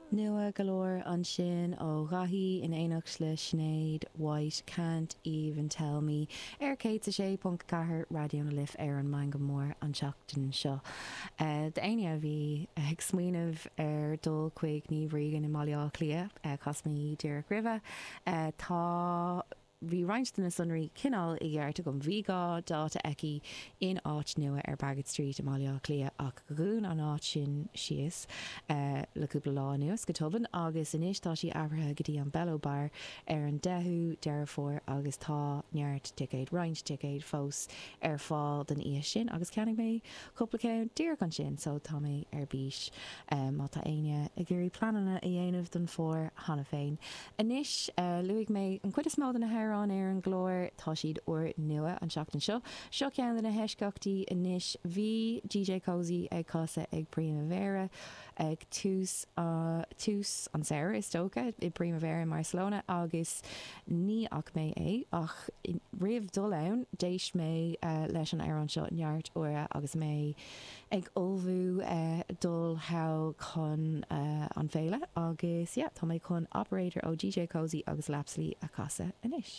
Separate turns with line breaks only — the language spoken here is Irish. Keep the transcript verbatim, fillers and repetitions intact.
Nua go leor ansin ó Dhaithí in éineacht le Sinéad White Can't Even Tell Me ar céad a sé ponc ceathair Raidió na Life ar an Meangadh Mór an tseachtain seo. Uh, D'éinne a bhí ag smaoineamh ar dul chuig Niamh Regan i mBaile Átha Cliath uh, chas mé díreach roimhe uh, tá bhí roinnt de na sonraí cineál i gceart agam bhí dhá dáta aici in áit nua ar Baggot Street i mBaile Átha Cliath ach dhún an áit sin síos uh, le cúpla lá anuas go tobann agus anois tá sí athraithe go dtí an Bello Bar ar an deichiú Deireadh Fómhair agus tá neart ticéid roinnt ticéid fós ar fáil don oíche sin agus cheannaigh mé cúpla ceann díreach ansin so tá mé ar bís um, má tá éinne ag iarraidh pleananna a dhéanamh don fómhar cheana féin. Anois uh, luaigh mé an chuid is mó de na hamhráin ar an gclár tá siad úrnua an seachtain seo. Seo ceann de na heisceachtaí anois bhí DJ Cozy ag casadh ag Primavera ag tús uh, tús an samhradh is dócha i Primavera in Barcelona agus ní fhaca mé é ach roimh dul ann d'éist mé uh, leis an amhrán seo neart uaire agus mé ag ullmhú uh, dul thall chun uh, an féile agus yeah, tá mé chun operator ó DJ Cozy agus Lapsley a chasadh anois.